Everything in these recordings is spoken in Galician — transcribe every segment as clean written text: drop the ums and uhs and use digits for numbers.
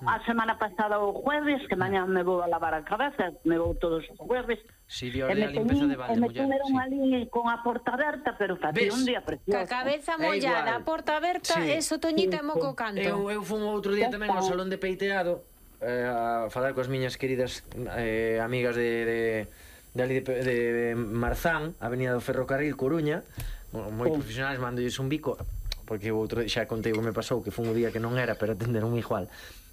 a semana pasada o jueves, que mañá me vou a lavar a cabeza, me vou todos os jueves. Si, de orde a limpeza de balde, muller. E me tuveron ali con a porta aberta, pero facía un día precioso. Ca cabeza mollada, a porta aberta, eso, Toñita, é moco canto. Eu fun outro día tamén ao salón de peiteado a falar coas miñas queridas amigas de Marzán, Avenida do Ferrocarril, Coruña, moi profesionais, mandolles un bico, porque outro xa contei o que me pasou, que foi un día que non era, pero atenderon igual.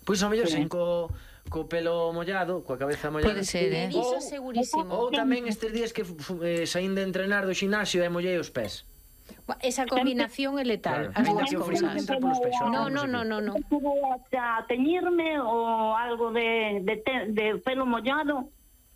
Pois ao mellor sen co pelo mollado, coa cabeza mollada. Pode ser, iso segurísimo. Ou tamén estes días que saín de entrenar do xinasio e mollei os pés. Esa combinación é letal, as dúas cousas. No. Estuve a teñirme o algo de pelo mollado,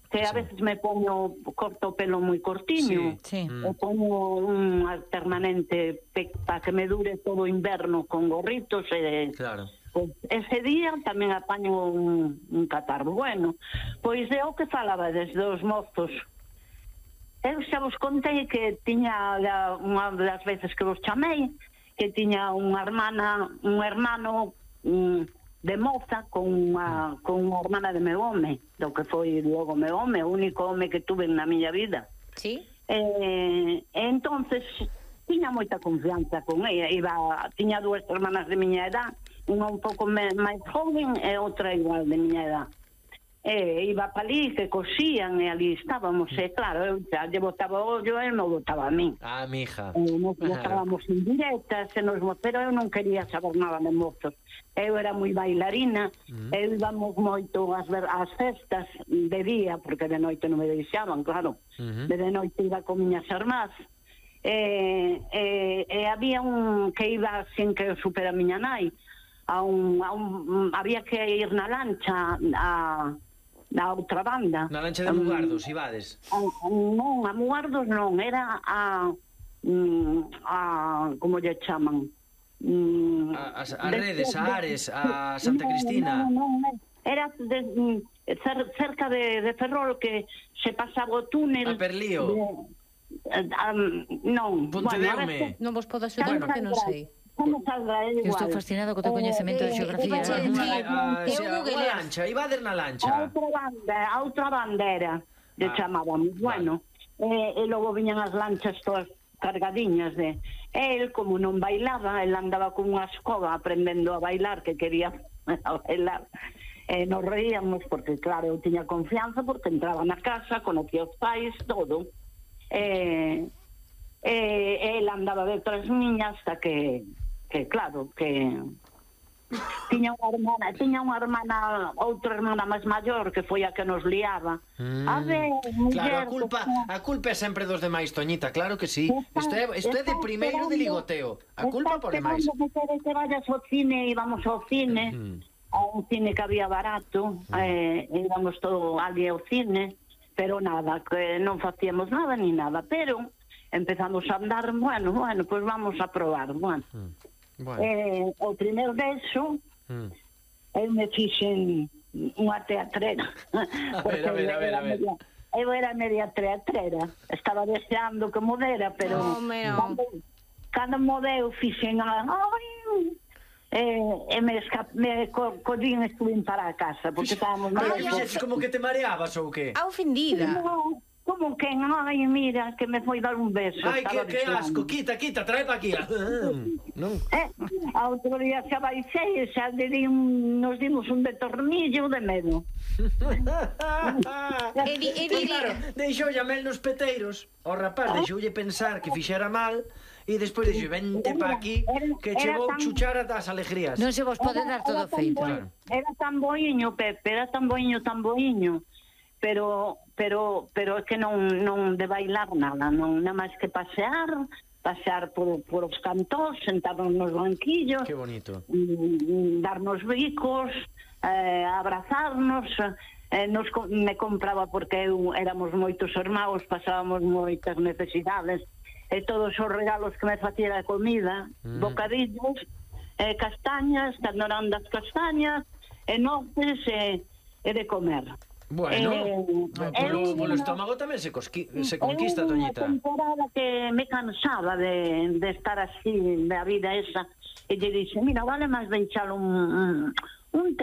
que a veces me pongo, corto o pelo moi cortiño, o pongo un permanente para que me dure todo o inverno con gorritos e... Claro. Pois ese día tamén apaño un catarro. Bueno, pois é o que falaba desde os mozos. Eu xa vos contei que tiña unha das veces que vos chamei, que tiña unha hermano de moza con unha hermana de meu home, do que foi logo meu home, o único home que tuve na miña vida. Sí. Entonces tiña moita confianza con ella. Tiña dúas hermanas de miña edad, unha un pouco máis joven e outra igual de miña edad. Iba para ali, que cosían, e ali estábamos, e claro, eu xa lle botaba o ollo e non botaba a min. Ah, mija. Nos botábamos en directas, pero eu non quería saber nada de mozos. Eu era moi bailarina, eu íbamos moito ás festas de día, porque de noite non me deixaban, claro. De noite iba con miñas irmás. Había un que iba sin que eu supera a miña nai, había que ir na lancha na outra banda. Na lancha de Mugardos, ibades? Non, a Mugardos non, era a como lle chaman? A Redes, a Ares, a Santa Cristina. Non, era cerca de Ferrol, que se pasaba o túnel. A Perlío. Non. Pontedeume. Non vos podo axudar porque non sei. Como saldrá igual? Eu estou fascinado co teu coñecemento de xeografía. A lancha, ibader na lancha. A outra bandera, lle chamábamos. Bueno, e logo viñan as lanchas todas cargadiñas de... El, como non bailaba, el andaba con unha escoba aprendendo a bailar, que quería bailar. Nos reíamos porque, claro, eu tiña confianza porque entraba na casa, conocía os pais, todo. El andaba detrás miña hasta que claro, que tiña unha hermana, outra hermana máis maior, que foi a que nos liaba. A ver, muller... Claro, a culpa é sempre dos demais, Toñita, claro que sí. Isto é de primeiro de ligoteo. A culpa por demais. Que vayas ao cine, íbamos ao cine, a un cine que había barato, íbamos todo ali ao cine, pero nada, que non facíamos nada ni nada, pero empezamos a andar, bueno, pois vamos a probar, bueno. O primer beso eu me fixen unha teatrera. A ver. Eu era media teatrera, estaba deseando que modera, pero cando modeu fixen me collín e estuve para a casa, porque estábamos... Fixeches como que te mareabas ou que? A ofendida. Como que, ai, mira, que me foi dar un beso. Ai, que asco, quita, trae pa aquí. Non? A outro día xa baixei e xa nos dimos un de tornillo de medo. Claro, deixoulle a mel nos peteiros. O rapaz deixoulle pensar que fixera mal e despois dixo, vente pa aquí que che vou chuchar as alegrías. Non se vos pode dar todo feito. Era tan boiño, Pepe, era tan boiño, pero é que non de bailar nada, non nada máis que pasear por os cantos, sentarnos nos banquillos. Que bonito. Darnos bicos, abrazarnos, me compraba porque éramos moitos irmãos, pasábamos moitas necesidades, e todos os regalos que me facía a comida, bocadillos, castañas, canorandas castañas, e noces e de comer. Bueno, polo estómago tamén se conquista, Toñita. Unha temporada que me cansaba de estar así, da vida esa, e lle dixe, mira, vale máis deixar un